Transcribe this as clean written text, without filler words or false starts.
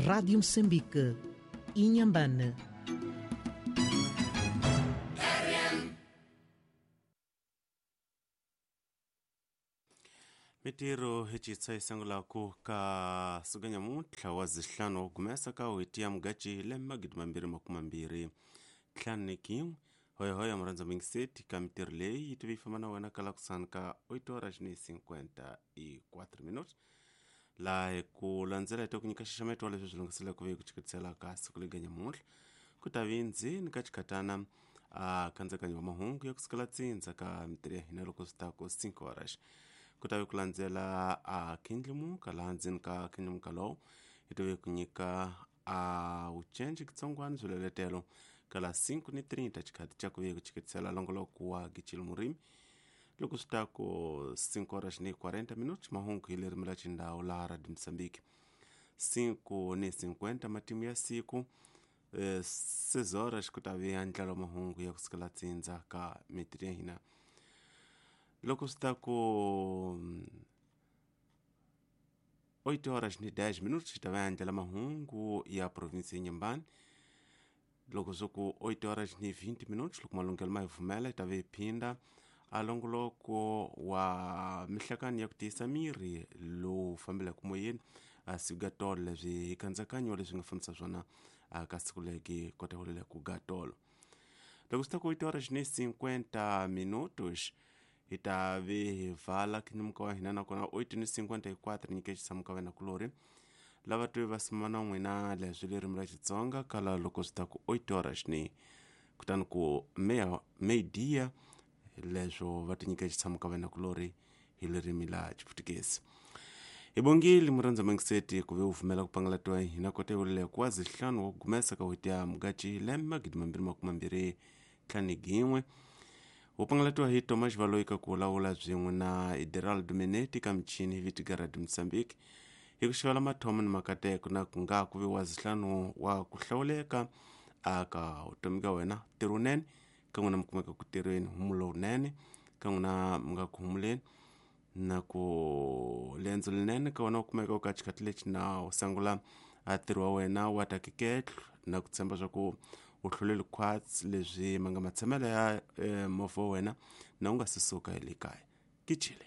Rádio Moçambique, Inhambane. Mitirho hi citsa yi sungulaku ka suka nyamuntlha wa zihlanu wa gumesa ka n'hweti ya Mudyaxihi lembe 2025. Hoyahoya murhandza mingiseti ka mitirho leyi yi tive yi famba na wena ka la kusani ka 8:54 laha hi ku landzela hi ta ku nyika xaxameto wa leswi swi lunghiselaka ku ve ku chiketisela ka siku lega nyamuntlha ku ta vi ndzeni ka xikhatana a kandzakanyo wa mahungu ya kusukela tsindza ka mitirho ya hina loko swi ta ku 5 horas ku ta ve ku landzela a khindlimuka laha ndzeni ka khindlimuka lowu hi tive ku nyika a vucenci kitsongwana swileletelo ka la 5:30 xikhati xa ku ve ku chiketisela longoloko wa Gichili Murimi loko swi ta ku 5:40 mahungu hi ririmi ra xindhawu laha Radio Mozambique 5:50 matimu ya siku 6 horas ku ta ve ndlalo mahungu ya kusukela tsindza ka mitirho ya hina loko swi ta ku 8:10 xi ta va ndlela mahungu ya provinsi ya Inhambane loko swi ku 8:20 loko malunghelo ma hi pfumela hi ta ve hi phinda a longoloko wa mihlakani ya ku tiyisa miri lowu fambelaka moyeni a siku ga tolo leswi hi kandzakanyo leswi nga fambisa swona ka siku legi kota ku ku ga tolo loko swi ta ku 8:50 hi ta ve hi vala khinimuka wa hina nakona 8:54 nyike xisamuka wena kulori lava twe va sima na n'wina leswi ririmi ra Xitsonga kala loko swi ta ku 8 horas ni kutani ku media leswo va ti nyika xitshamo ka wena kulori hi ririmi la Xiputukezi hi bongile murhandza mangiseti ku ve u pfumela ku pangalatiwa hina kota yolele ku wa zihlanu wa gumesa ka n'hweti ya Mudyaxihi lembe 2025 wu pangalatiwa hi Thomas Valoyi ka ku lawula byin'we na Ideraldo Meneti ka michini hi vitiga Radio Mozambique hi ku xivela mathomo ni makateko na ku nga ku vi wa zihlanu wa ku hlawuleka aka vutomi ka wena ntirho wunene ka n'wina mi kumeka ku tirheni humulo wunene ka n'wina mi nga ku humuleni na ku lendzo linene ka wena u kumeka u ka xikhathi lexi na u sangula a ntirho wa wena wa ta keketlo na ku tshemba swa ku u hluleli khwatsi leswi ma nga matshamelo ya movha wa wena na u nga se suka hi le kaya kichile.